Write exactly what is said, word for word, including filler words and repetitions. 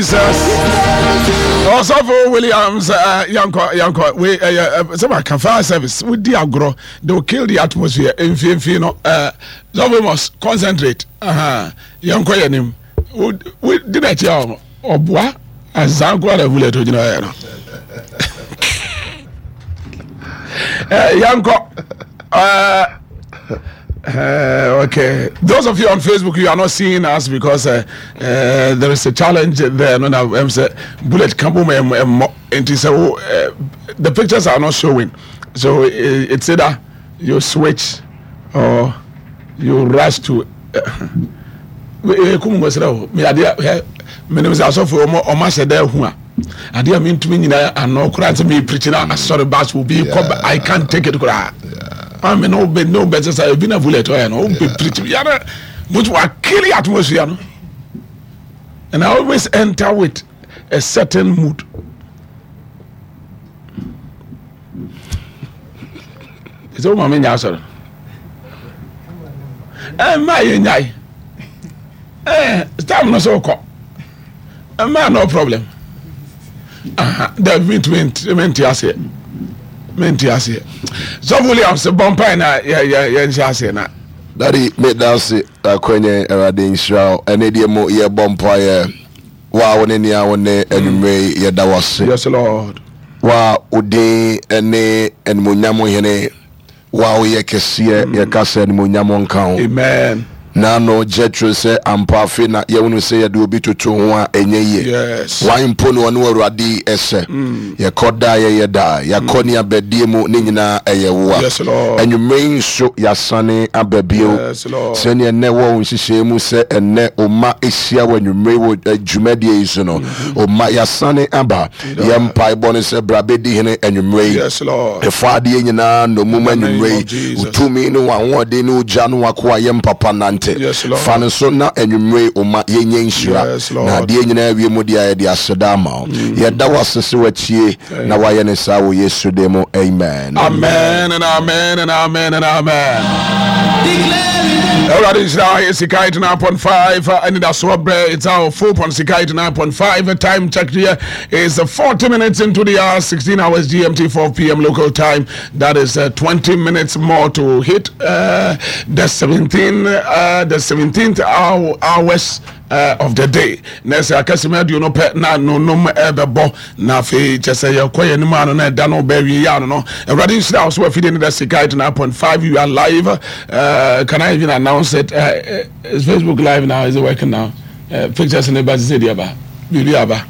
Jesus. Ɔsɔfo Williams, uh, yankɔ yankɔ we ɛyɛ uh, sɛ ma ka fire service wodi agorɔ, they will kill the atmosphere. Mfimfini no, uh, sɔfo must concentrate. uh-huh. Yankɔ yɛ nim wodi n'akyi a ɔboa asanko ara bullet ogyina yɛ no. Yankɔ. Uh, Uh, okay. Those of you on Facebook, you are not seeing us because uh, uh, there is a challenge there. No, no, I'm say bullet come and so uh, the pictures are not showing. So it's either you switch or you rush to. Kum ngosra o me ade me sɛ asɔfo ɔmo ɔmo ahyɛ dɛ hu a adeɛ a mentumi nyina ano koraa sɛ mepreach na asɔre bas obi kɔ, I can't take it koraa. Ame ne wobɛ ne wobɛ sɛ sɛ ebi na bullet ɔyɛ no wobɛ preach yɛrɛ but wa kill atmosphere no, and I always enter with a certain mood. Sɛ wo ma menya asɔre ɛma yɛ nyae eh time no so kɔ ɛma no problem. Aha, dabi, mentumi mente aseɛ, mente aseɛ. Sɔfo Williams, bɔ mpae na yɛnhyɛ aseɛ na Daddy, meda ase akwanya. Awurade nhyira wo. Ɛne deɛ mu yɛbɔ mpaeɛ wa wo ne nea wo ne anwummerɛ yi, yɛda wo ase. Yes, Lord. Wa wo din ne animonyam hene, wa woyɛ kɛseɛ, yɛka sɛ animonyam nka ho. Amen. Na no Jetro sɛ ampa afei na yɛhunu sɛ yɛde obi toto ho a ɛnyɛ yie. Yes wan mpo ne ɔne Awurade ɛsɛ yɛkɔ daa yɛyɛ daa yɛakɔ ne abadie mu ne nyinaa ɛyɛ wo a. Yes, Lord. Anwummerɛ yi nso yɛasane aba bio. Yes, Lord. Sɛneɛ ɛnnɛ wɔ wo nhyehyɛe mu sɛ ɛnnɛ ɔma ɛhyia wɔ anwummerɛ wɔ eh, dwumadie yi so no, ɔma yɛasane aba. Yɛ mpaebɔ no sɛ bra bɛdi hene anwummerɛ yi. Yes, Lord. Ɛfa adeɛ nyinaa nnomum anwummerɛ name of yi. Jesus. Wotumi ne w'ahoɔden ne wogya no wakoa yɛ mpapa nante. Yes, Lord. Fa no so na anwummerɛ yi ɔma yɛnyɛ nhyira. Yes, Lord. Na adeɛ nyinaa wie mu deɛ a yɛde aseda ama wo. Yɛda wo ase sɛ watie na wayɛ ne saa wɔ Yesu din mu, amen. Amen and amen and amen and amen. Awurade nhyira yɛ Sika eighty-nine point five anidasoɔ berɛ. It's our four point Sika eighty-nine point five. Time check here is forty minutes into the hour, sixteen hours G M T, four p m local time. That is uh, twenty minutes more to hit uh, the seventeen uh, the seventeenth hour, hours uh, of the day. Na sɛ akasɛm aduonu pɛ na nonum ɛbɛbɔ na afei kyɛ sɛ yɛkɔ yɛn anim ano na ɛda no bɛwie yɛ ano no. Awurade nhyira wo so afidie no da Sika eighty-nine point five. You are live. uh, can I even announce it? uh, uh, is Facebook Live now? Is it working now? uh, pictures ne ba sɛ deɛ ba biribi aba.